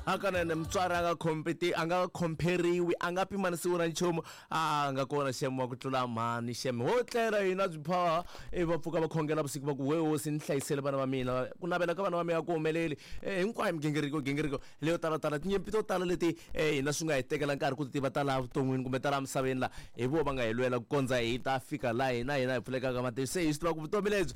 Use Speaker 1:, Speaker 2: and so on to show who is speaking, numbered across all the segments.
Speaker 1: Hakanene mutswari a nga competi a nga comperiwi a nga pimanisiwi na nchumu a nga kona xeme wa ku tlula mhani xeme ho tlela hina byi phaha ivi va pfuka va khongela vusiku va ku we hosi ni hlayisele vana va mina ku navela ka vana va mina ku humeleli hinkwayo migingiriko gingiriko leyo talatala tinyimpi to tala leti hina swi nga hi tekela nkarhi ku ti tiva ta laha vuton'wini kumbe ta laha misaveni laha hi vo va nga hi lwela ku kondza hi ta fika laha hina hina hi pfulekaka matihlo se hi swi tiva ku vutomi lebyi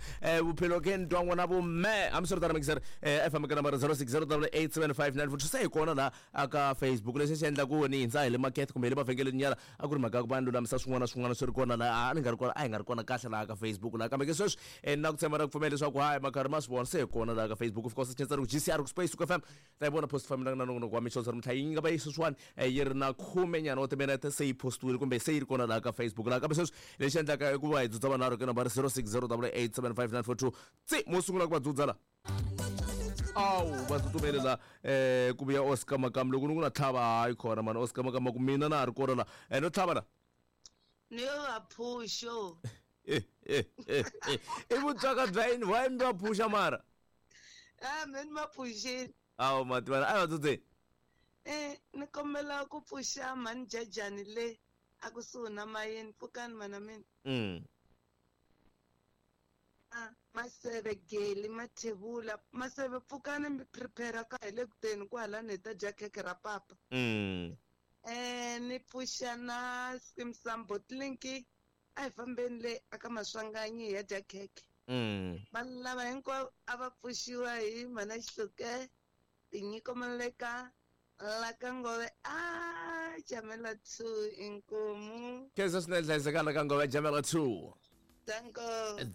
Speaker 1: vuphilo ke ni twa n'wana vume hambiswiritano mixer fm ka nambara 060 875 se hi kona laha aka Facebook lexi xi endla ku ni hindza hi le makete kumbe hi le mavhengeleni nyana a ku ri mhaka ya ku va ni lulamisa swin'wana na swin'wana swi ri kona laha a ni nga ri kona a hi nga ri kona kahle laha ka Facebook laha kambe ke sweswi ni na ku tshemba na ku pfumela leswaku hayi makarhi ma swi vona se hi kona laha ka Facebook of course xi ku GCR ku space ku FM ta yi vona post fambelana na nongonoko wa mixo namuntlha yi nga va yi sweswiwani yi ri na khume nyana wa timinete se yi postiwile kumbe se yi ri kona laha ka Facebook laha kambe sweswi lexi endlaka i ku va hi dzudza vanharhu ke nambara 060 875 tsi mo sungula ku va dzudza la awu va tsutsumele la ku vuya Oscar Makamu loko ni ku na tlhava hayi khona mani Oscar Makamu ku mina na ha ri kona la no tlhava la
Speaker 2: ni yo va phuxo
Speaker 1: i vutswaka bya yini why mi va phuxa mara
Speaker 2: a me ni va pfuxile
Speaker 1: awu mativana a va tsutseni
Speaker 2: ni kombela ku pfuxa mhani jajani le a kusuhi na mayini pfukani mana mina Maseve Geli Mathebula Maseve pfukani mi prepare ka hi le kuteni kwalani hi ta dya khekhe ra papa ni pfuxa na Simsam Botlinki a hi fambeni le aka Maswanganyi hi ya dya khekhe vanhu lava hinkwavo a va pfuxiwa hi mhana Xihluke Tinyiko Maleka la ka Ngove a Jamela 2 inkomu
Speaker 1: khensa swinene hlayisekana la ka Ngove Jamela 2
Speaker 2: Danko.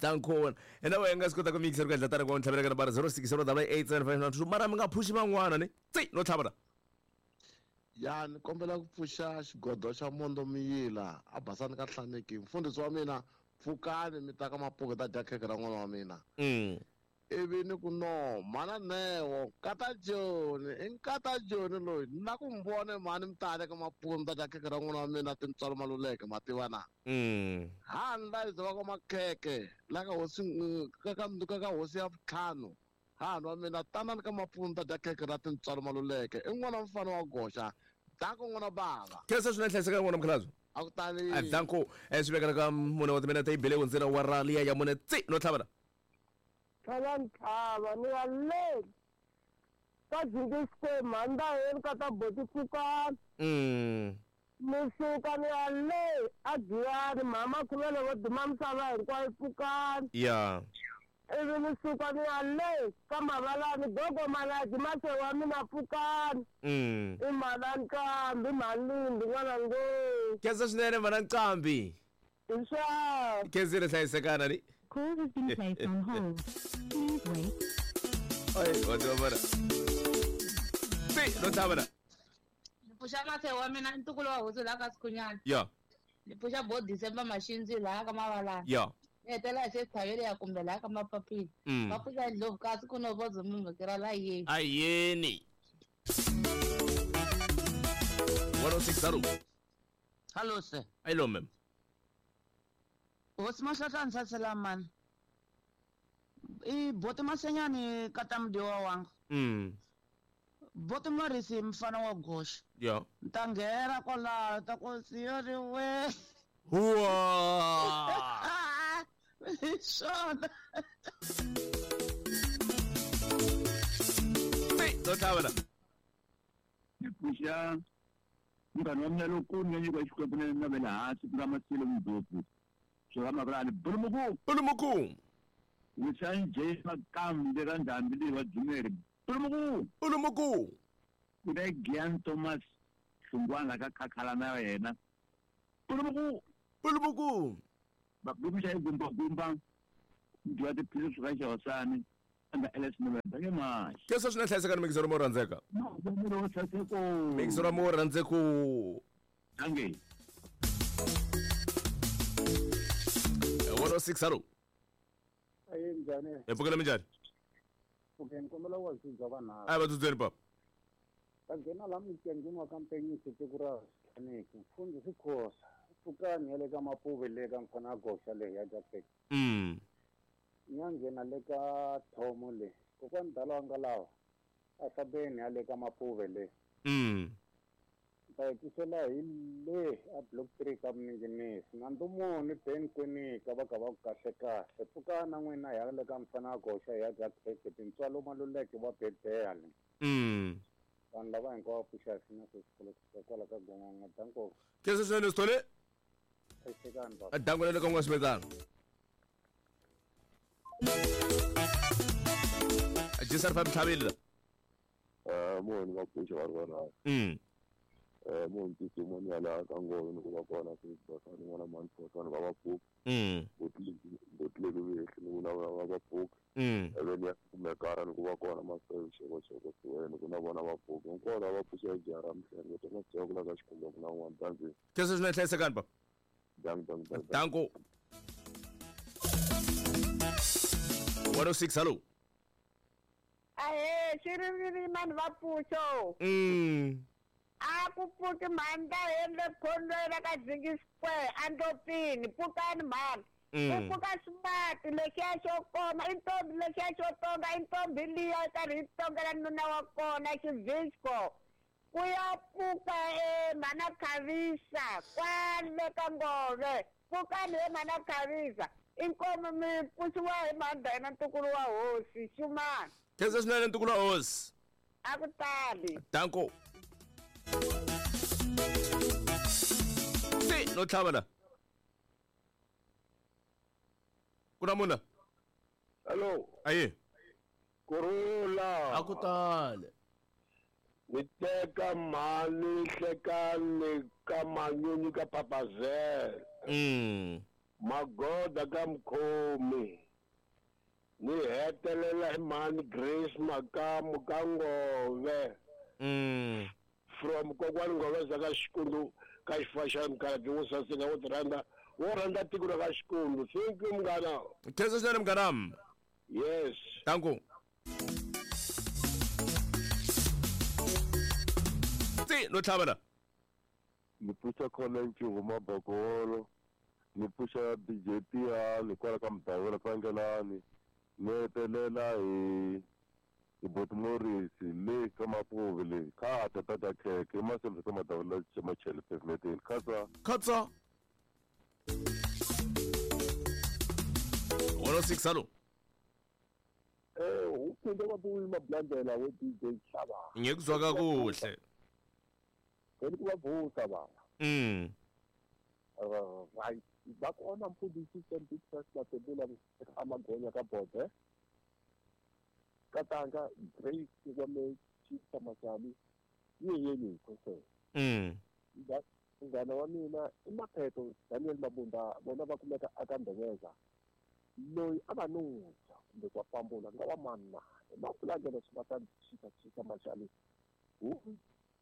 Speaker 1: Danko. Ena wena nga swi kota ku mixer ku endla tani ku ntlhavela ka nambara 06087592 mara mi nga phuxi van'wana ni tsi no tlhava la
Speaker 3: Ya ni kombela ku pfuxa xigodo xa Mondo Miyila a basani ka Hlaneki mfundhisi wa mina pfukani mi ta ka Mapuku ta dya khekhe ra n'wana wa mina ivi ni ku no mhana Neo nkata Joni i nkata Joni loyi ni la ku mi vona mhani mi ta le ka Mapuku mi ta dya khekhe ra n'wana wa mina tintswalo maluleke ma tiva na ha ni layiza va ka Makhekhe la ka hosi ka ka ka ka hosi ya vutlhanu hahani wa mina tanani ka Mapuku mi ta dya khekhe ra tintswalo maluleke i n'wana wa mfana wa goxa danko n'wana bava
Speaker 1: khensa swinene hlayiseka n'wana mukhalabye
Speaker 3: a ku tali
Speaker 1: danko swi vekela ka mune wa timinete yi bele hundzela wa ra liya ya mune tsi no tlhavela
Speaker 4: Tlhava ntshava ni ya le ka Jinki Square mhani ka ta Boti Pfukani. Ni suka ni ya le a Giyani mhama Khumelo vo duma misava hinkwayo pfukani. Ivi ni suka ni ya le ka Mavalani gogo Malaki mase wa mina pfukani. I mhana Nqambi mhani Lindi n'wana ngoo.
Speaker 1: Khensa swinene mhana Nqambi.
Speaker 4: Hi swa.
Speaker 1: Khensile hlayisekana ni.
Speaker 5: Call has been placed on hold. Please wait.
Speaker 1: Ay, wa tiva vona. Si, no tlhava la.
Speaker 6: Ni pfuxa mathe wa mina ntukulu wa hosi laha ka Sikhunyana.
Speaker 1: Ya.
Speaker 6: Ni pfuxa bo December Maxindzi laha ka Mavalani.
Speaker 1: Ya.
Speaker 6: Ni hetelela hi xithavele ya kumbe laha ka Mapapila. Va pfuxa ndlovu kasi ku no vodzo mimhekera la yeni.
Speaker 1: Ayeni. 106 hello.
Speaker 7: Hello sir.
Speaker 1: Hello ma'am.
Speaker 7: Hosi Mahlahla Nhlasela mani. I boti Masenyani kata mudiwa wanga. Boti Marisi mfana wa goxa.
Speaker 1: Ya.
Speaker 7: Ntanghera kwalaho ta ku siyori we.
Speaker 1: Huwa.
Speaker 7: Hi swona.
Speaker 1: No tlhava la.
Speaker 8: Ni pfuxa munghana wa mina lowukulu ni nga nyikiwa Xikwembu na na ve le hansi ku nga Masilo Mdlopfu swo ka Makulani Bulumuku
Speaker 1: Bulumuku
Speaker 8: Wisani J Makambe ka Ndhambi leyi wa Dzumeri Bulumuku
Speaker 1: Bulumuku
Speaker 8: ku na Gian Thomas Hlungwana ka Khakhala na yena Bulumuku
Speaker 1: Bulumuku
Speaker 8: Babulumu xa gumba gumba dya tiphilisi swi ka Xihosani anga LS November ke manje
Speaker 1: Khensa swinene hlayisekani mixero mo rhandzeka
Speaker 8: no saseko
Speaker 1: mixero mo rhandzeko
Speaker 8: Danke.
Speaker 1: 106 hello.
Speaker 9: Ayi njhani?
Speaker 1: Hi pfukela minjhani?
Speaker 9: Okay, ni kombela ku va vanharhu.
Speaker 1: A va dzudzeni papa.
Speaker 9: Va nghena laha mugangeni wa ka Mpenyisi tiko ra Hlaneki. Mfundhisi Khosa. Pfukani ya le ka Mapuve le ka mfana goxa le ya Jackson. Ni ya nghena le ka Thomo le. Kokwani Dala wa nga lawa. A fambeni hale ka Mapuve le. Ta hetisela hi le a block 3 ka Mninginisi. Na Ndumuni Ben Kwinika va ka va ku kahle kahle. Pfuka na n'wina hi ya le ka mfana goxa hi ya dya khekhe tintswalo maluleke va bedeya le. Vanhu lava hinkwavo pfuxa hi sina sweswi kwala ka Gongongo. Danko.
Speaker 1: Khensa swinene Sithole.
Speaker 9: Hlayisekani baba.
Speaker 1: Danko le ka n'wa Swimetana. Jisar fa Mtlhabeli la.
Speaker 10: Moni va pfuxa va ri va moni titsumani ya laha ka Ngolo ni ku va kona swibasani n'wana mani phosani va va pfuka. Botleki vehli ni ku na va va pfuka. Eveni ya kumekara ni ku va kona maseve xekoxeko siweni ku na vona va pfuka. Hinkwavo lava va pfuxa jara mhlengo to nga ku la ka xikhumba ku na n'wana danzi.
Speaker 1: Khensa swinene hlayisekani baba.
Speaker 10: Dank dank dank.
Speaker 1: Danko. 106 hello.
Speaker 4: Ahe, xiriviri mani va pfuxo. A ku pfuki mhani ta hembe khondweni ka Zingi Square andopini pfukani mhani. Ku pfuka ximati lexiya xo koma i ntombi lexiya xo tonga i ntombi liya karhi yi tongela nuna wa kona xivisco. Ku ya pfuka mhana Khavisa kwale ka Ngove. Pfukani he mhana Khavisa. Inkomu mi pfuxiwa hi mhani Dayina ntukulu wa hosi Xumani.
Speaker 1: Khensa swinene ntukulu wa hosi.
Speaker 4: A ku tali.
Speaker 1: Danko. Se no tlhava la. Ku na munhu la?
Speaker 11: Hello.
Speaker 1: Aye.
Speaker 11: Kurula.
Speaker 1: A ku tali.
Speaker 11: Ni teka mhani hlekani ka manyunyu ka Papazela. Magoda ka Mkhomi. Ni hetelela hi mhani Grace Makamu ka Ngove. From kokwani Ngove za ka Xikundu ka Xifaxani Mukhalabye wo saseka wo tirhandza wo rhandza tiko ra ka Xikundu. Thank you munghana.
Speaker 1: Khensa swinene munghana.
Speaker 11: Yes.
Speaker 1: Danko. Ti no tlhava la.
Speaker 10: Ni pfuxa khona Ncuva Mabokolo. Ni pfuxa DJ Tiyani kwala ka Mdavula Tlangelani. Ni hetelela hi Boti Morris le ka Mapuve le kha ta ta khekhe i maseve ka Madavula Machele pavementeni. Khatsa.
Speaker 1: Khatsa. 106 hello.
Speaker 10: Uphinde kwabuya Mablandela we DJ Hlaba.
Speaker 1: Ngikuzwa kakuhle.
Speaker 10: Ngeke kubavusa baba. Right. Bakona mfundisi St. Peter's Matebula amagonya ka Bode. Katanga Grace kwame Chisa Masali yeyeni khose. Ngana wa mina iMaphetho Daniel Mabunda bona va kumeka aka Ndebeza. Loyi a va nusa kumbe kwa pambula nga wa manna. Mapulangelo swi va ta Chisa Masali.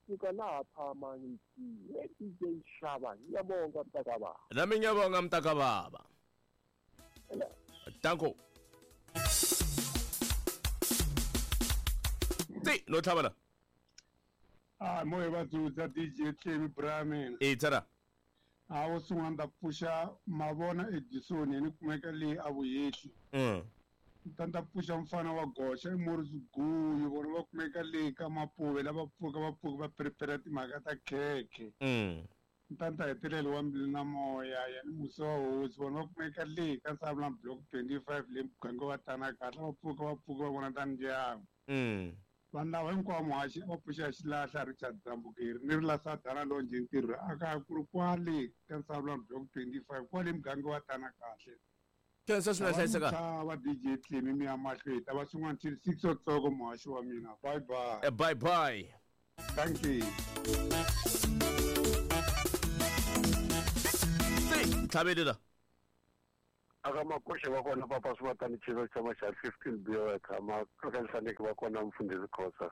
Speaker 10: Suka laha phama ngithi DJ Hlaba ngiyabonga mntakababa.
Speaker 1: Nami ngiyabonga mntakababa. Danko. Ti no tlhava la.
Speaker 12: Moya va dzudza DJ Tlemi Brahman.
Speaker 1: E tsara.
Speaker 12: A wo sungula nda pfuxa Mavona Edison ni kumeka le a Vuyehli. Nda pfuxa mfana wa goxa i Morris Guyu vona va kumeka le ka Mapuve lava pfuka va prepare timhaka ta khekhe. Ntanta hetelela wa mbilu na moya ya ni musa wa hosi vona va kumeka le ka Sabula block 25 le muganga wa Tanakahle va pfuka va vona ta ndyangu. Vanhu lava hinkwavo muhaxi va pfuxa xilahla Richard Zambukeri ni ri la Sadana Lonje ntirho aka ku ri kwale ka Sabula block 25 kwale muganga wa Tanakahle.
Speaker 1: Khensa swinene hlayisekani.
Speaker 12: Va DJ Tlemi mi ya mahlweni ta va swin'wana till 6 o'clock muhaxi wa mina. Bye bye.
Speaker 1: Bye bye.
Speaker 12: Thank you.
Speaker 1: Tlhabeli la.
Speaker 11: Aka makoshe va kona papa swi Chisa xa xa 15 B wa tshama ka Nhlaneki va kona mfundhisi Khosa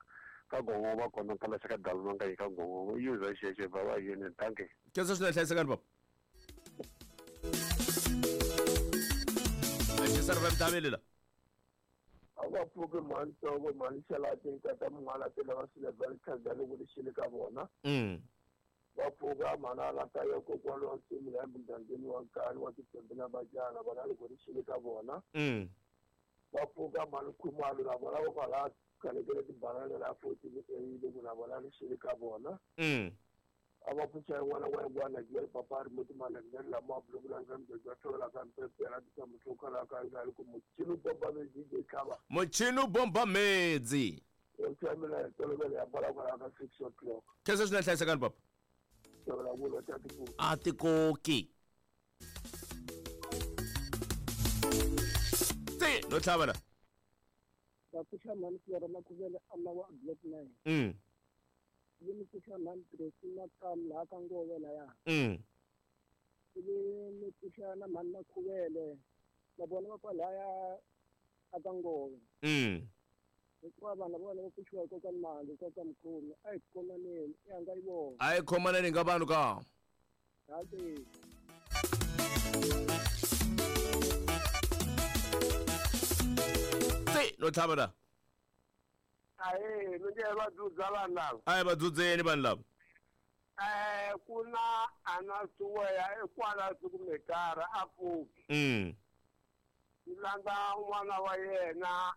Speaker 11: ka Gongo va kona kala xa ka Dalma nga ka Gongo user xexe va va yini thank you.
Speaker 1: Khensa swinene hlayisekani baba. Jisar va Mdaveli la.
Speaker 11: A va pfuki mhani ntsongo mhani Xalati tata Mun'wana tela va swile va tlhela loko lexile ka vona. Va pfuka mhana la ta ya kokwana wa nsimu la mugangeni wa nkani wa titembe na vajana vona loko lexile ka vona. Va pfuka mhani Khumalo na vona va kwala Kalekele tibanana la 14 A le ku na vona ri xile ka vona. A va pfuxa yin'wana wa yin'wana jele papa ri muti malengele lama bulukula ka mbejo thola ka mpepela ka muthuka la ka nga ku muchini bomba medzi je tlhava.
Speaker 1: Muchini bomba medzi.
Speaker 11: O tsamela tolovela ya bala kwala ka 6 o'clock.
Speaker 1: Khensa swinene hlayisekani papa.
Speaker 11: Tolovela vula ta tikoki.
Speaker 1: A tikoki. Ti no tlhava la.
Speaker 4: Va pfuxa mhani Flora Makhuvele a lava block 9. Yi ni pfuxa mhani Tracy Makamu laha ka Ngove laya. Ivi ni pfuxa na mhani Makhuvele na vona va kwalaya a ka Ngove. Hikuva vanhu vona va pfuxiwa hi kokwani Mali, kokwani Mkhomi, a hi khomaneni, i hanga yi vona.
Speaker 1: A hi khomaneni nga vanhu ka.
Speaker 4: Hayi.
Speaker 1: Ti no tlhava la.
Speaker 11: Ahe, mi nge va dzudza vanhu lava.
Speaker 1: A hi va dzudzeni vanhu lava.
Speaker 11: Ku na ana suweya ekwala sikumekara a pfuki. Ni landza n'wana wa yena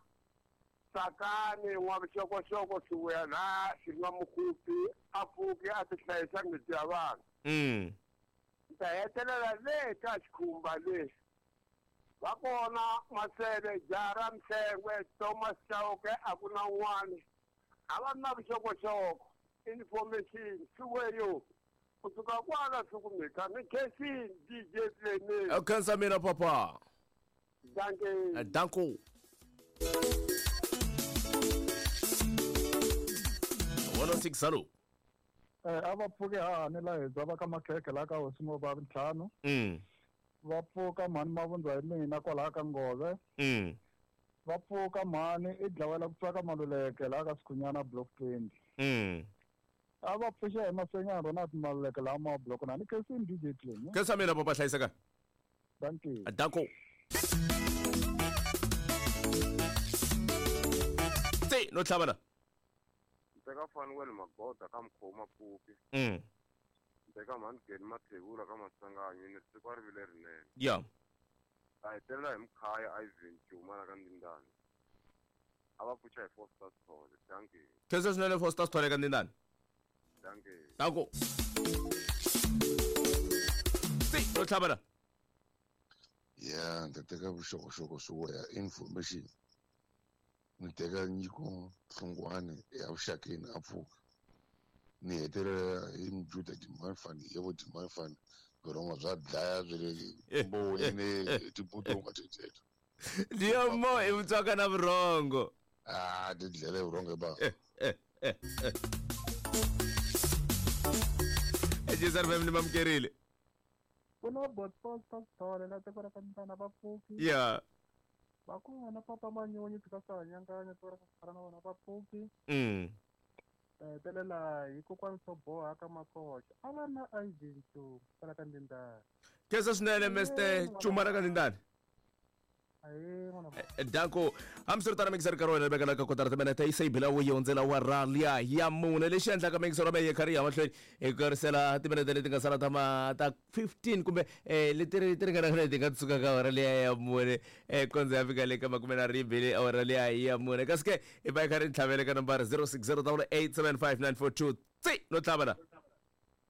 Speaker 11: Tsakani n'wa vuxokoxoko suweya laha xi nga mukhupi a pfuki a ti hlayisa miti ya vanhu. Ni ta hetelela le ka xikhumba lexi. Va kona Masele, Jara, Mhlengwe, Thomas Chauke a ku na un'wana. A va na vuxokoxoko, information, suweyo. Kusuka kwala sikumeka ni khensini DJ Clement.
Speaker 1: U khensa mina papa.
Speaker 11: Danke.
Speaker 1: Danko. 106 salo.
Speaker 12: A va pfuke hahani la hi va ka makhekhe la ka hosi ngo va ntlhanu. Va pfuka mhani Mavundza hi mina kwalaha ka Ngove. Va pfuka mhani i dlawela ku tsaka Maluleke laha ka Sikhunyana block 20. A va pfuxa hi Masenyana Ronald Maluleke laha ma block na ni khensini DJ Clement.
Speaker 1: Khensa mina papa hlayiseka.
Speaker 12: Danke.
Speaker 1: Danko. Ti no tlhava la.
Speaker 10: Teka Fanuel Magoda ka Mkhoma Pfuki. Teka mhani Geni Mathebula ka Masanganyi ni siku a ri vile rinene.
Speaker 1: Ya.
Speaker 10: Ta hetelela hi Mkhaya Ivan Cuma la ka Ndindani. A va pfuxa hi Foster Sithole. Danke.
Speaker 1: Khensa swinene Foster Sithole ka Ndindani.
Speaker 10: Danke.
Speaker 1: Danko. Ti no tlhava la.
Speaker 3: Ya, ni ta teka vuxokoxoko swo ya information. Ni teka nyiko Hlungwani ya vuxakeni a pfuka. Ni hetelela hi Mjuda Dimafani, yebo Dimafani, vurhongo bya dlaya byi le mboweni tibutonga teteto.
Speaker 1: Ndiyo mo i vutswaka na vurhongo.
Speaker 3: Ah, ti dlele vurhongo ba.
Speaker 1: Ejizar family mamkerile.
Speaker 12: Kuna bot post Sithole la tiko ra ka Mntana va pfuki.
Speaker 1: Ya.
Speaker 12: Va kona papa Manyonyi tshika swa nyanganya tiko ra ka Sithole na vona va pfuki. Hetelela hi kokwani Soboha ka Makoxa. A va na Ivan Cuma kwala ka Ndindani.
Speaker 1: Khensa swinene Mr Cuma ra ka Ndindani. Danko hambiswiritano mixer nkarhi wa wena vekela ka kotara timinete yi se yi bila wu yi hundzela wa ralya ya mune lexi endlaka mixer wa mehe yi karhi ya mahlweni hi karisela timinete leti nga sala ta ma ta 15 kumbe leti ti ringanaka leti nga suka ka awara liya ya mune kondza ya fika le ka makume na rimbili awara liya ya mune kasi ke i va yi karhi yi tlhavele ka nambara 0608875942 tsi no tlhava la.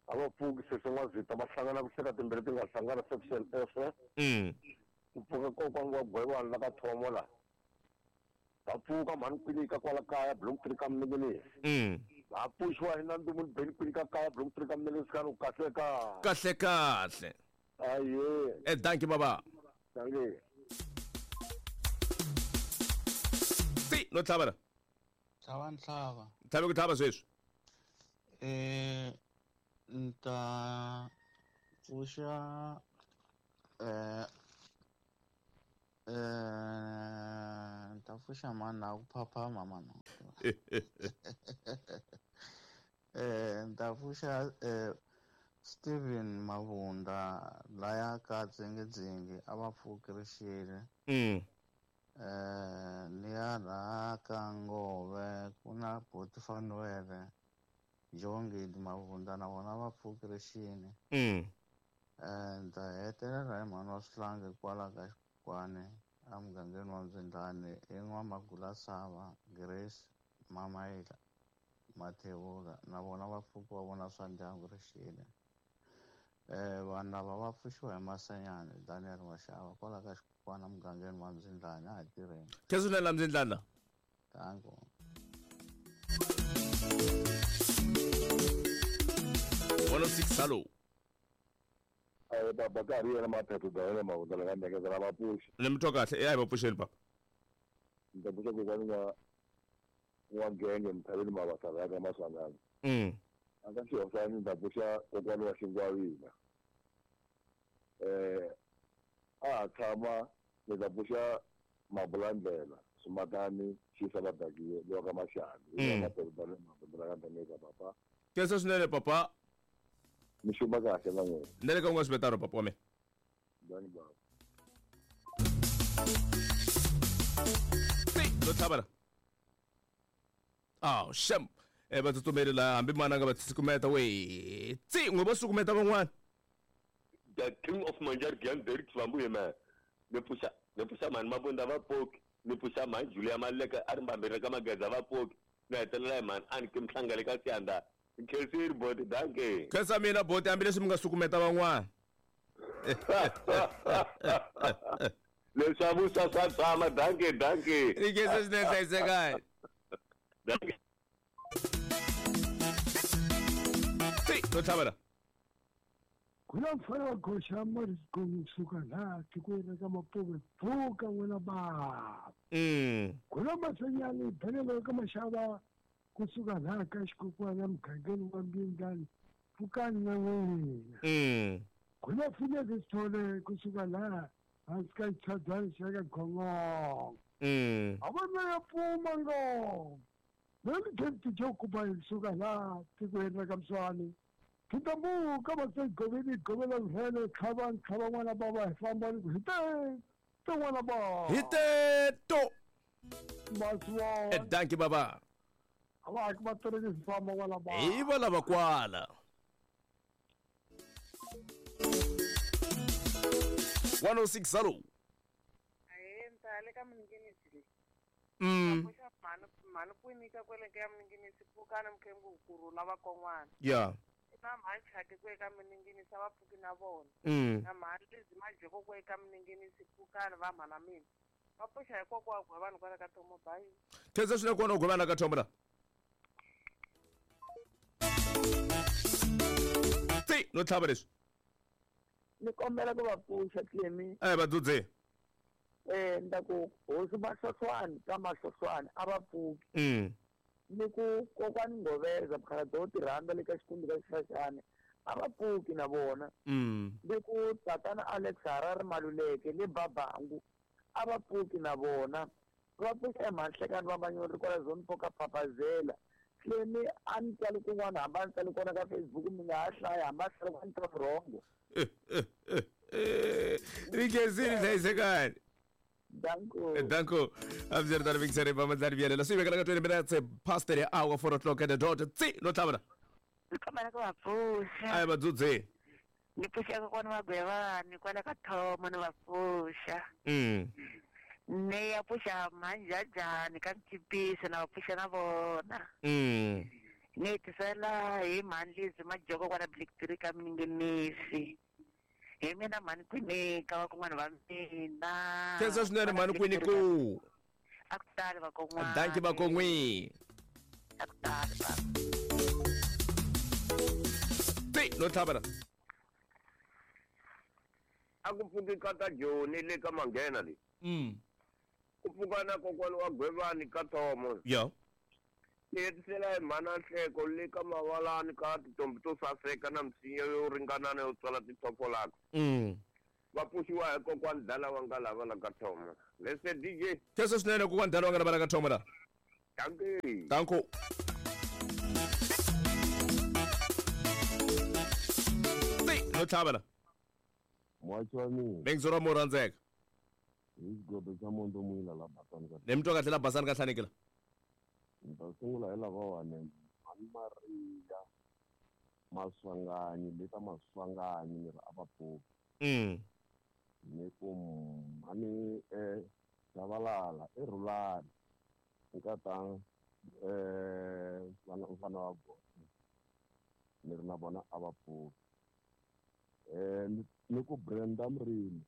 Speaker 11: A va pfuki sesi N'wazita va hlangana ku hleka timbirhi ti nga hlangana section F. Ku pfuka kokwani wa Gwewani la ka Thomo la. Va pfuka mhani Kwinika kwala kaya block 3 ka Mninginisi. Va pfuxiwa hi Nandumu ni Beni Kwinika kaya block 3 ka Mninginisi ka kahle ka.
Speaker 1: Kahle kahle.
Speaker 11: Aye.
Speaker 1: Dankie baba.
Speaker 11: Dankie.
Speaker 1: Ti no tlhava la.
Speaker 13: Tlhava ntlhava.
Speaker 1: Tlhava ku tlhava sweswi.
Speaker 13: Nta pfuxa nta pfuxa mani na ku phaphama mani. Nta pfuxa Steven Mavunda laya ka Dzingidzingi a va pfuki rixile. Liya laha ka Ngove ku na Boti Fanuele Jongile Mavunda na vona va pfuki rixile. Ndza hetelela hi mhani wa Swihlangi kwala ka Xikwani emugangeni wa Mzindlani i N'wamagula Sava Grace Mamayila Mathebula na vona va pfuki va vona swa ndyangu rixile. Vanhu lava va pfuxiwa hi Masanyani Daniel Mashava kwala ka Xikwana mugangeni wa Mzindlani a hi tirheni.
Speaker 1: Khensa swinene la Mzindlani.
Speaker 13: Danko.
Speaker 1: 106 hello.
Speaker 10: Baba ka ri yena Maphetho Daniel Mavundla la ka Ndengeza va pfuxi.
Speaker 1: Ni mi twa kahle a hi va pfuxeni papa.
Speaker 10: Ni ta pfuxa kokwani wa Ngenge Mthaveni Mavasala ya ka Maswanganyi. A ka Xihosani ni ta pfuxa kokwani wa Xingwavila. A ha tshama ni ta pfuxa Mabulandlela Swimatani Xisa Vadakiwe lowa ka Maxani. Hi Maphetho Daniel Mavundla la ka Ndengeza papa.
Speaker 1: Khensa swinene papa.
Speaker 10: Mi xuma kahle na n'wina.
Speaker 1: Na le ka un'wana swivetano papa wa mina.
Speaker 10: Dani baba.
Speaker 1: Lo tlhavela. Aw, shem. Va tsutsumeli laha hambi mananga va sukumeta we. Tsi, n'we vo sukumeta van'wana.
Speaker 14: The king of Manjar Gyan Derek Swambu yena. Ni pfuxa mhani Mabunda va pfuki. Ni pfuxa mhani Julia Maleka a ri mbambirhi ka Mageza va pfuki. Ni hetelela hi mhani Anki Mhlangale ka Siyanda. Khensiri boti danke.
Speaker 1: Khensa mina boti hambileswi mi nga sukumeta van'wana.
Speaker 14: Leswaku swa swa tshama danke danke.
Speaker 1: Ni khensa swinene hlayisekani.
Speaker 14: Danke.
Speaker 1: Tsi, lo tlhavela.
Speaker 12: Ku na mfana wa goxa Morris kusuka laha tikweni ka Mapuve pfuka n'wina baba. Ku na Masanyani Benelo ka Maxava kusuka laha ka Xikokwana mugangeni wa Mbindlani pfukani na n'wina. Ku na Phineas Sithole kusuka laha hansi ka xichadani xa ka Gongongo. A vona ya pfuma ngopfu. Mani David Jokuba kusuka laha tikweni ra ka Mswani. Kitambuka va goveni govela vhele tlhava tlhava n'wana baba hi famba ni ku hi te n'wana baba.
Speaker 1: Hi te to.
Speaker 12: Maswa.
Speaker 1: Danki baba.
Speaker 12: A va va tirhisi famba n'wana baba.
Speaker 1: Hi va lava kwala. 106 hello.
Speaker 2: Aye ntale ka Mninginisi le. Mhani kwinika kwele ka Mninginisi pfukani mkhengu kurhula va kon'wana.
Speaker 1: Yeah.
Speaker 2: Na mhani Chake ku eka Mninginisi va pfuki na vona. Na mhani Lizzy Majeko ku eka Mninginisi pfukani va mhana mina. Va pfuxa hi kokwa wa vanhu kwala ka Thomo bye.
Speaker 1: Khensa swinene kona u gwevana ka Thomo la. Tsi, no tlhava leswi.
Speaker 15: Ni kombela ku va pfuxa Clemi.
Speaker 1: Va dzudze.
Speaker 15: Nda ku hosi Mahlohlwani ka Mahlohlwani a va pfuki. Ni ku kokwani Ngoveza mukhalabye wo tirhandza le ka Xikundu ka Xixaxani a va pfuki na vona. Ni ku tatana Alex Harare Maluleke le Babangu a va pfuki na vona. Va pfuxa eMhanhlekani va Manyori kwala Zone 4 ka Papazela. Clemi a ni tsali kun'wana hambi a ni tsali kona ka Facebook mi nga ha hlaya hambi a hlaya ku ni twa vurhongo.
Speaker 1: Ni khensile hlayisekani.
Speaker 15: Danko.
Speaker 1: Danko. Abzerda Vixere Pamadlari Bielela. Swi vekela ka 20 minutes past the hour 4 o'clock at the dot. Tsi, lo tlhavela.
Speaker 16: Ni kombela ku va pfuxa.
Speaker 1: Ayi va dzudze.
Speaker 16: Ni pfuxa kokwana wa Gwevani kwala ka Thomo ni va pfuxa. Ni ya pfuxa Mhanjajani ka Mchipisi na va pfuxa na vona. Ni hetisela hi mhani Lizzy Majoko kwala Black Tree ka Mninginisi. Hi mina mhani Kwinika va kun'wana va mina.
Speaker 1: Khensa swinene mhani Kwiniku.
Speaker 16: A ku tali va kon'wana.
Speaker 1: Danki va kon'wi.
Speaker 16: A ku tali va.
Speaker 1: Tsi, lo tlhavela.
Speaker 14: A ku pfuki ka ta Joni le ka Manghena le. Ku pfuka na kokwani wa Gwevani ka Thomo.
Speaker 1: Yeah.
Speaker 14: Ni hetisela hi mhana Nhleko le ka Mavalani ka tintombi to saseka na misinya yo ringanana yo tswala tithofolaka. Va pfuxiwa hi kokwani Dala wa nga lava la ka Thomo. Lese DJ.
Speaker 1: Khensa swinene kokwani Dala wa nga lava la ka Thomo la.
Speaker 14: Dankie.
Speaker 1: Danko. Tsi, lo tlhavela.
Speaker 10: Muachi wa mina.
Speaker 1: Bengizora mo rhandzeka.
Speaker 10: Hi xigodo xa Mondo Muyila la Basani ka.
Speaker 1: Ni mi twa kahle la Basani ka Hlanekela.
Speaker 10: Ni ta sungula hi lavawani Mhani Maria Maswanganyi le ka Maswanganyi ni ri a va pfuki. Ni ku mhani Chavalala i Rhulani nkata Mfana wa gosi ni ri na vona a va pfuki. Ni ku Brenda Mrimi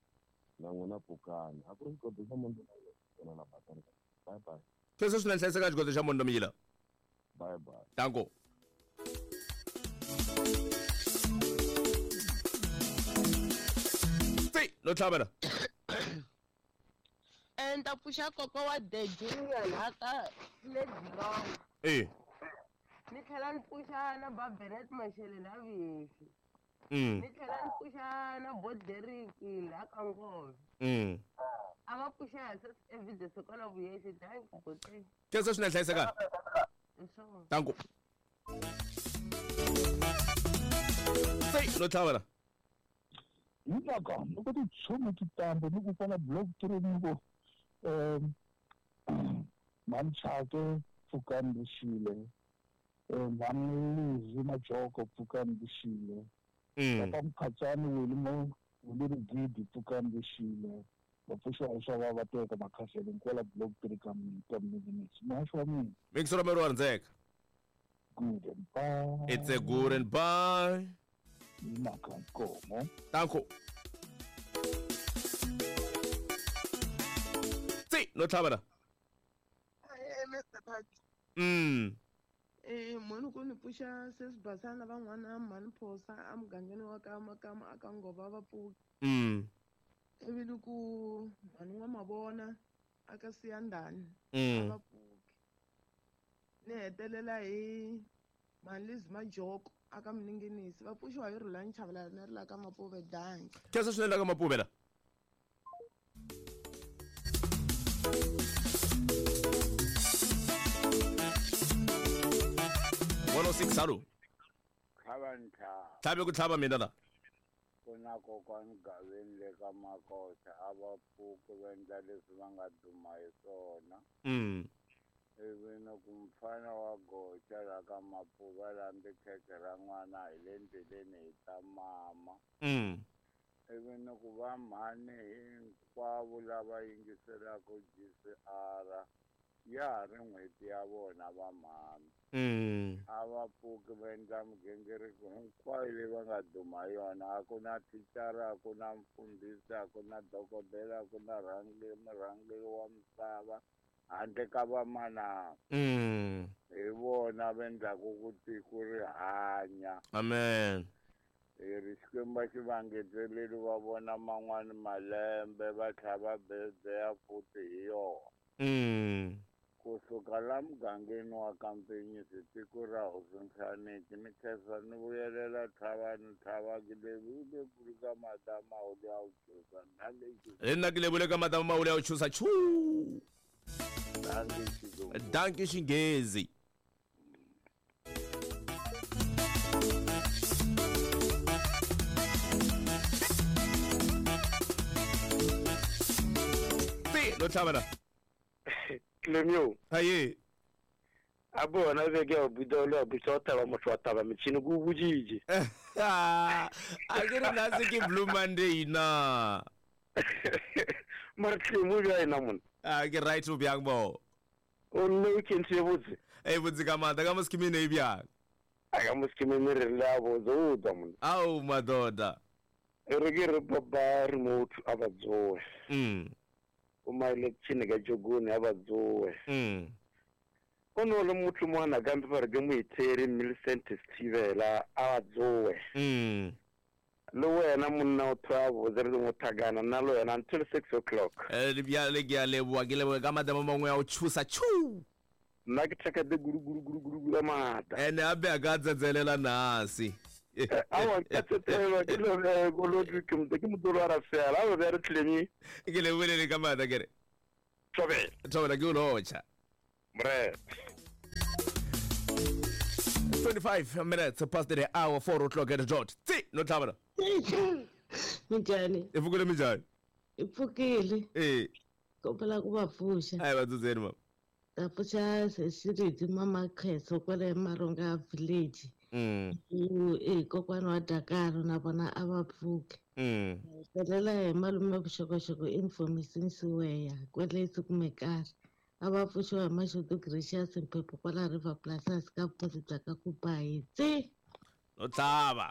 Speaker 10: na n'wina pfukani. A ku ri xigodo xa Mondo na la Basani. Bye bye.
Speaker 1: Sweswo swi na hlayiseka xigodo xa Mondo Miyila.
Speaker 10: Bye bye.
Speaker 1: Danko. Tsi, no tlhavela.
Speaker 4: Ni ta pfuxa kokwa wa The Junior laha ka Lady. Ni tlhela ni pfuxa na Baberet Mashele la Vihehli. Ni tlhela ni pfuxa na Boderiki laha ka Ngove. A va pfuxa hi evidence kwala Vuyehli. Dankie boti.
Speaker 1: Sweswo swi na hlayiseka.
Speaker 4: Hi swona.
Speaker 1: Danko. Tsi, no tlhavela.
Speaker 12: Hinaka loko tichomi ti tambe ni ku kwala block 3 ni ku Mhani pfukani Vuxile, Mhani Lizi Majoko pfukani Vuxile, Papa Mkhatsani Wili Wili Rigidi pfukani Vuxile, va pfuxiwa swa va va teka makhasele kwala block 3 ka Minginisi. Muhaxi wa mina.
Speaker 1: Mixo ra wa rhandzeka.
Speaker 12: Good and bye.
Speaker 1: It's a good and bye.
Speaker 12: Hinaka nkomo.
Speaker 1: Danko. Tsi, no tlhavela.
Speaker 2: Mr. Park. Mhani ku ni pfuxa sesibasana van'wana mhani Phosa emugangeni wa ka Makama aka Ngova va pfuki. Ivi ni ku mhani wa Mavona aka Siyandhani a va pfuki. Ni hetelela hi mhani Lizi Majoko aka Minginisi va pfuxiwa hi Rhulani Chavalala na ri la ka Mapuve. Dankie.
Speaker 1: Khensa swinene la ka Mapuve la. 106 alo.
Speaker 9: Tlhava ntlhava.
Speaker 1: Tlhabe ku tlhava mina la.
Speaker 9: Ku na kokwani Gaveni le ka Makosa a va pfuki va endla leswi va nga duma hi swona. Ivi ni ku mfana wa goxa la ka Mapuva lambi khekhe ra n'wana hi le ndleleni hi ta mama. Ivi ni ku va mhani hinkwavo lava yingiselaka GCR ya ha ri n'hweti ya vona va mhani. A va pfuki va endla migingiriko hinkwayo leyi va nga duma yona. A ku na thicara, a ku na mfundhisi, a ku na dokodela, a ku na murhangeri wa misava handle ka vamanana. Hi vona va endlaku ku tiko ri hanya.
Speaker 1: Amen.
Speaker 9: Hi ri Xikwembu a xi va ngeteleli va vona man'wani malembe va tlhela va bezeya futhi hi yona. Kusuka la mugangeni wa Kampenyisi tiko ra Hosi Nhlaneki ni khensa ni vuyelela tlhavani tlhavaki levule ka madama wu ya wu chusa
Speaker 1: hi nna ke levule ka madama mawulu ya wu chusa chu. Dankie Xinghezi. Ti no tlhavela.
Speaker 17: Clemio.
Speaker 1: Haye.
Speaker 17: A bona be ke buda lo busa taba motho wa taba metšhini ku bujije.
Speaker 1: A ke re nna se ke Blue Monday na.
Speaker 17: Mara Clemo bja ena mona.
Speaker 1: A ke right o bjang bo.
Speaker 17: O nne o kentse botse.
Speaker 1: E botse ka mata ka moskimene e bjang.
Speaker 17: A ka moskimene re la botse o tswa mona.
Speaker 1: Ao madoda.
Speaker 17: E re ke re baba remote a ba tsoe. O maile tshine ka jogone a ba tsoe. O no le motho mwana ka mpe ba re ke moitheri Millicent Sthibela a ba tsoe. Le wena monna o twa botse re mo thakana nna le wena until 6 o'clock.
Speaker 1: Bjale ke a leboa ke leboa ka madama mangwe ya o tshusa chu.
Speaker 17: Nna ke thaka de guru guru guru guru guru mata.
Speaker 1: Ene a be a ka tsetselela nasi.
Speaker 17: Awa ke tsetselelwa ke le kolodi ke motho ke motho wa ra fela a be re tlemi.
Speaker 1: Ke leboele ka mata ke re.
Speaker 17: Thobela.
Speaker 1: Thobela ke o lotšha.
Speaker 17: Bre.
Speaker 1: 25 minutes past the hour, 4 o'clock at the dot. Tsi, no tlhabela.
Speaker 18: Minjhani?
Speaker 1: E pfukile minjhani?
Speaker 18: I pfukile. Kombela ku va pfuxa.
Speaker 1: A hi va dzudzeni mama.
Speaker 18: Ta pfuxa Sesiridzi mama Kheso kwale Maronga village. I kokwana wa Dakar na vona a va pfuki. Hetelela hi malume vuxokoxoko information siweya kwale Sukumekari. A va pfuxiwa hi Mashudu Gracious Mphephu kwala River Plus hansi ka vukosi bya ka Kubayi. Tsi!
Speaker 1: No tlhava.